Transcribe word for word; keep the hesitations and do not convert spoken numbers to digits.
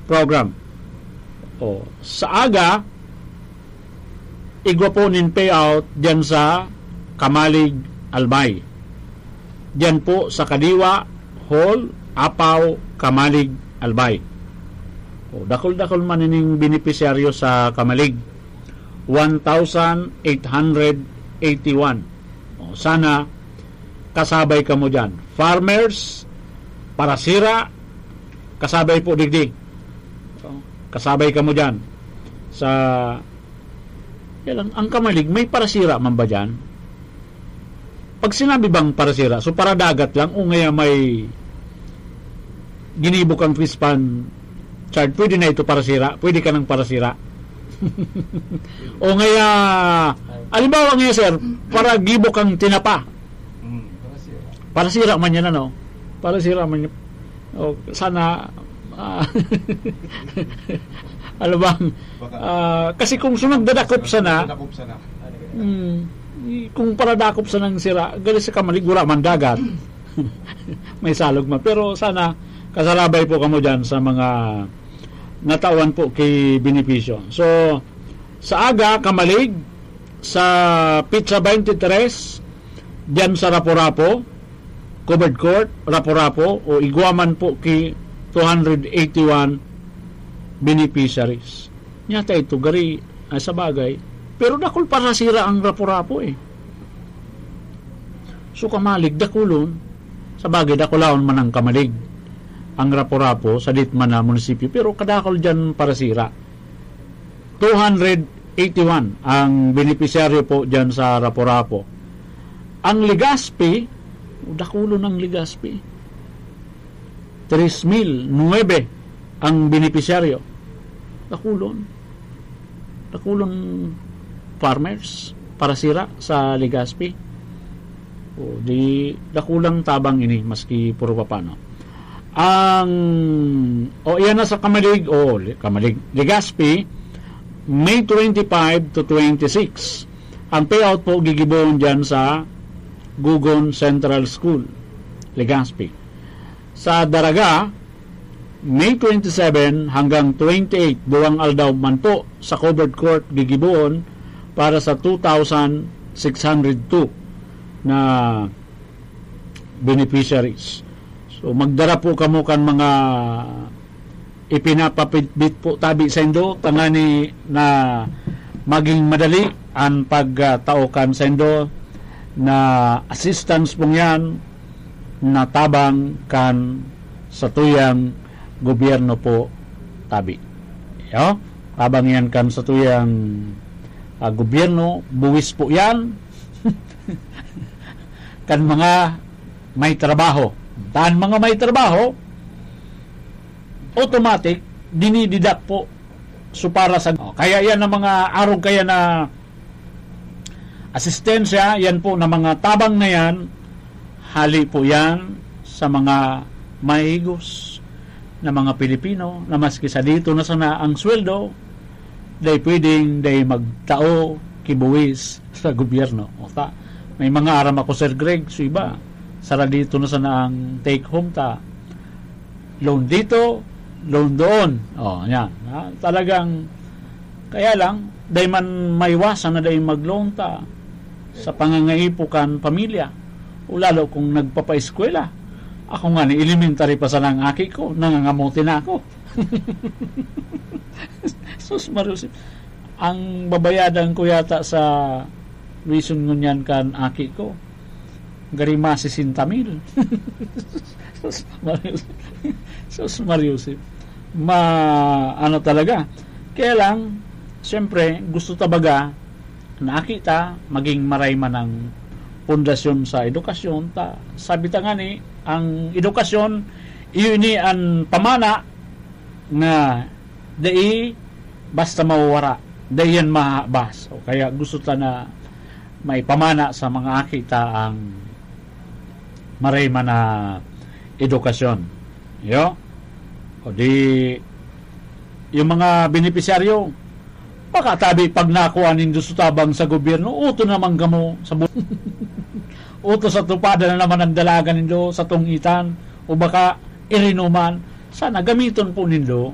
program. O, sa aga, igwa po nin payout diyan sa Camalig, Albay. Diyan po sa Kadiwa Hall, Apaw, Camalig, Albay. O, dakul-dakul man ining benepisyaryo sa Camalig. One thousand eight hundred eighty-one. O, sana kasabay kamo diyan. Farmers, parasira, kasabay po digdi. O, kasabay kamo diyan. Sa, kaya lang, ang Camalig, may parasira man ba diyan? Pag sinabi bang parasira, so paradagat lang o ngaya may ginibo kang fish pond, Chard, pwede na ito parasira? Pwede ka nang parasira? O ngaya, halimbawa ngayon, sir, para gibo kang tinapa. Mm, parasira. Parasira man yan, ano? Parasira man yan. O, sana, ah, ano bang, Baka ah, kasi kung sunod dadakop sana, dadakop sana. Mm, i-, kung paradakop sanang sira, gali sa Camalig, wala man dagat. May salog man. Pero sana, kasarabay po kamo dyan sa mga natawan po ki benepisyo. So, sa aga, Camalig, sa petsa twenty-three, dyan sa Rapu-Rapu, covered court, Rapu-Rapu, o igwa man po ki two hundred eighty-one beneficiaries. Nyata ito, gari, ay, sa bagay. Pero dakul parasira ang Rapu-Rapu, eh. So, Camalig, dakulon. Sa bagay, dakulahon man ang Camalig. Ang Rapu-Rapu, sa dit man na munisipyo. Pero kadakul dyan parasira. Two hundred eighty-one ang benepisyaryo po dyan sa Rapu-Rapu. Ang Legazpi, dakulon ang Legazpi. Tres mil nuebe ang benepisyaryo. Dakulon. Dakulon farmers parasira sa Legazpi. O, di dakulang tabang ini, maski puro papano. Ang, o, iyan na sa Camalig, o, Li-, Camalig, Legazpi, May twenty-five to twenty-six. Ang payout po gigibohon dyan sa Gugon Central School, Legazpi. Sa Daraga, May twenty-seven hanggang twenty-eight, duwang aldaw man po sa covered court gigibohon para sa two thousand six hundred two na beneficiaries. So, magdara po kamo kan mga ipinapabitbit po tabi saindo, tangani na maging madali an pagtao kan saindo na assistance pong yan na tabang kan satuyang gobyerno po tabi. Yo? Tabang yan kan satuyang, ah, gobyerno, buwis po yan kan mga may trabaho. Tan mga may trabaho, automatic, dinididak po. So, para sa, oh, kaya yan ang mga arog kaya na asistensya, yan po na mga tabang na yan, hali po yan sa mga mahigos na mga Pilipino na maski sa dito na sana ang sweldo, dai pwedeng dai magtao ki buwis sa gobyerno. O ta, may mga aram ako, Sir Greg, so iba, sara dito na sana ang take home ta. Loan dito, loan doon. O, yan. Ha? Talagang, kaya lang, dai man maiwasan na dai mag-loan ta sa pangangaipo kan pamilya. O lalo kung nagpapaeskwela. Ako nga ni elementary pa sana ang aki ko, nangangamote na ako. Sus, Maria Jose. Ang babayadan ko yata sa tuition ngunyan kan aki ko, gari mga sesenta mil. Sus, Maria Jose. Sus, Maria Jose. Ma-, ano talaga. Kaya lang, siyempre, gusto ta baga na aki ta maging maray man ang pundasyon sa edukasyon ta. Sabi ta nga ni, ang edukasyon, iyo ini an pamana na dai basta mawawara, dai yan mahabas. O kaya gusto ta na maipamana sa mga aki ta ang maray man na edukasyon. Yo? O di, yung mga benepisyaryo, pakatabi pag nakuha nindo sa tabang sa gobyerno, uto naman kamo sa bu-, uto sa tupada na naman ang dalagan nindo sa tungitan, o baka irinuman. Sana gamiton po nindo